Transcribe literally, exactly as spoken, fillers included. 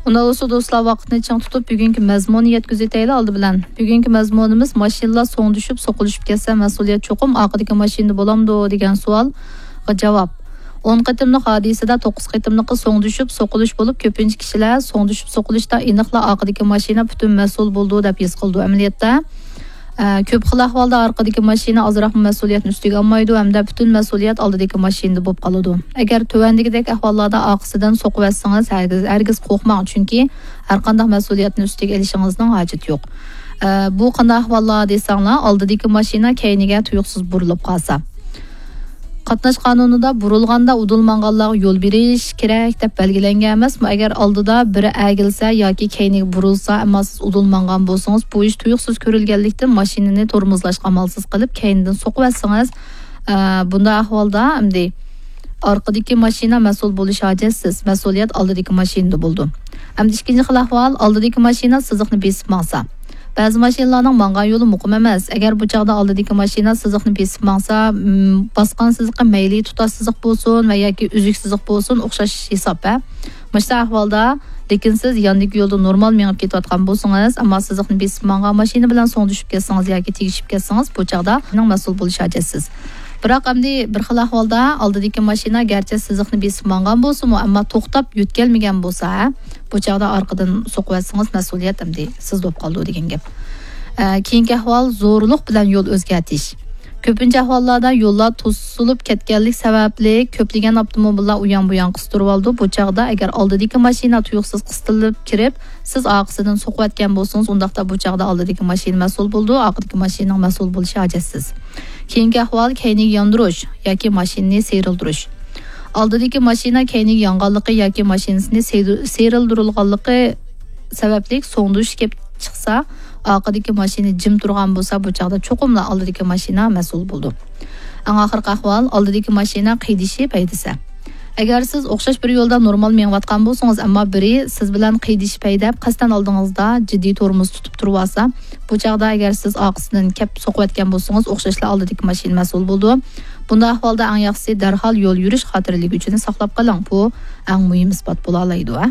ئۇنداق بولسا دوستلار، ۋاقىتنى چىڭ تۇتۇپ، بۈگۈنكى مەزمۇننى يەتكۈزۈۋېتەيلى ئالدى بىلەن. بۈگۈنكى مەزمۇنىمىز ماشىنىلار سوڭدىشىپ، سوقۇلۇشۇپ كەتسە، مەسئۇلىيەت چوقۇم ئارقىدىكى ماشىنىدا بولامدۇ دېگەن سوئالغا جاۋاب. ئون قېتىملىق ھادىسىدە توققۇز قېتىملىقى سوڭدىشىپ، سوقۇلۇش بولۇپ، كۆپىنچە كىشىلەر سوڭدىشىپ، سوقۇلۇشتا ئېنىقلا ئارقىدىكى ماشىنا پۈتۈن مەسئۇل بولىدۇ دەپ ھېس قىلىدۇ. ئەمەلىيەتتە، ئە، كۆپ خىل ئەھۋالدا ئارقىدىكى ماشىنا ئازراقمۇ مەسئۇلىيەتنى ئۈستىگە ئالمايدۇ ھەمدە پۈتۈن مەسئۇلىيەت ئالدىدىكى ماشىنىدا بولۇپ قالىدۇ. ئەگەر تۆۋەندىكىدەك ئەھۋاللاردا ئارقىسىدىن سوقۇۋەتسىڭىز، ھەرگىز، ھەرگىز قورقماڭ، چۈنكى ھەرقانداق مەسئۇلىيەتنى ئۈستىگە ئېلىشىڭىزنىڭ ھاجىتى يوق. ئە، بۇ قانداق ئەھۋاللار دېسەڭلار، ئالدىدىكى ماشىنا كەينىگە تۇيۇقسىز بۇرۇلۇپ قالسا. قاتناش قانۇنىدا بۇرۇلغاندا ئۇدۇل ماڭغانلارغا يول بېرىش كېرەك دەپ بەلگىلەنگەن ئەمەسمۇ؟ ئەگەر ئالدىدا بىرى ئەگىلسە ياكى كەينىگە بۇرۇلسا، ئەمما سىز ئۇدۇل ماڭغان بولسىڭىز، بۇ ئىش تۇيۇقسىز كۆرۈلگەنلىكتىن، ماشىنىنى تورمۇزلاشقا ئامالسىز قىلىپ، كەينىدىن سوقۇۋەتسىڭىز، ئە، بۇنداق ئەھۋالدا ئەمدى ئارقىدىكى ماشىنا مەسئۇل بولۇش ھاجەتسىز. مەسئۇلىيەت ئالدىدىكى ماشىنىدا بولىدۇ. ئەمدى ئىككىنچى خىل ئەھۋال، ئالدىدىكى ماشىنا سىزىقنى بېسىپ ماڭسا. بەزى ماشىنىلارنىڭ ماڭغان يولى مۇقىم ئەمەس. ئەگەر بۇ چاغدا ئالدىدىكى ماشىنا سىزىقنى بېسىپ ماڭسا، م، باسقان سىزىقى مەيلى تۇتاش سىزىق بولسۇن ۋە ياكى ئۈزۈك سىزىق بولسۇن، ئوخشاش ھېساب، ھە؟ مۇشۇنداق ئەھۋالدا، لېكىن سىز ياندىكى يولدا نورمال مېڭىپ كېتىۋاتقان بولسىڭىز، ئەمما سىزىقنى بېسىپ ماڭغان ماشىنا بىلەن سوڭدىشىپ كەتسىڭىز ياكى تېگىشىپ كەتسىڭىز، بۇ چاغدا مەسئۇل بولۇش ھاجەتسىز. بىراق ئەمدى بىر خىل ئەھۋالدا ئالدىدىكى ماشىنا گەرچە سىزىقنى بېسىپ ماڭغان بولسىمۇ، ئەمما توختاپ يۆتكەلمىگەن بولسا، ھە، بۇ چاغدا ئارقىدىن سوقۇۋەتسىڭىز، مەسئۇلىيەت ئەمدى سىز بولۇپ قالىدۇ دېگەن گەپ. ئە، كېيىنكى ئەھۋال، زورلۇق بىلەن يول ئۆزگەرتىش. كۆپىنچە ئەھۋاللاردا يوللار توسۇلۇپ كەتكەنلىك سەۋەبلىك، كۆپلىگەن ئاپتوموبىللار ئۇيان-بۇيان قىستۇرۇۋالىدۇ. بۇ چاغدا ئەگەر ئالدىدىكى ماشىنا تۇيۇقسىز قىستىلىپ كىرىپ، سىز ئارقىسىدىن سوقۇۋەتكەن بولسىڭىز، ئۇنداقتا بۇ چاغدا ئالدىدىكى ماشىنا مەسئۇل بولىدۇ، ئارقىدىكى ماشىنىنىڭ مەسئۇل بولۇشى ھاجەتسىز. كېيىنكى ئەھۋال، كەينىگە ياندۇرۇش ياكى ماشىنىنى سىيرىلدۇرۇش. ئالدىدىكى ماشىنا كەينىگە يانغانلىقى ياكى ماشىنىسىنى سىيرىل-، سىيرىلدۇرۇلغانلىقى سەۋەبلىك سوڭدۇشۇش كېلىپ چىقسا، ئارقىدىكى ماشىنا جىم تۇرغان بولسا، بۇ چاغدا چوقۇملا ئالدىدىكى ماشىنا مەسئۇل بولىدۇ. ئەڭ ئاخىرقى ئەھۋال، ئالدىدىكى ماشىنا قىيدىشىپ ھەيدىسە. ئەگەر سىز ئوخشاش بىر يولدا نورمال مېڭىۋاتقان بولسىڭىز، ئەمما بىرى سىز بىلەن قىيدىشىپ ھەيدەپ، قەستەن ئالدىڭىزدا جىددىي تورمۇز تۇتۇپ تۇرۇۋالسا، بۇ چاغدا ئەگەر سىز ئارقىسىدىن كەپ سوقۇۋەتكەن بولسىڭىز، ئوخشاشلا ئالدىدىكى ماشىنا مەسئۇل بولىدۇ. بۇنداق ئەھۋالدا ئەڭ ياخشىسى دەرھال يول يۈرۈش خاتىرىلىگۈچىنى ساقلاپ قېلىڭ. بۇ ئەڭ مۇھىم ئىسپات بولالايدۇ، ھە.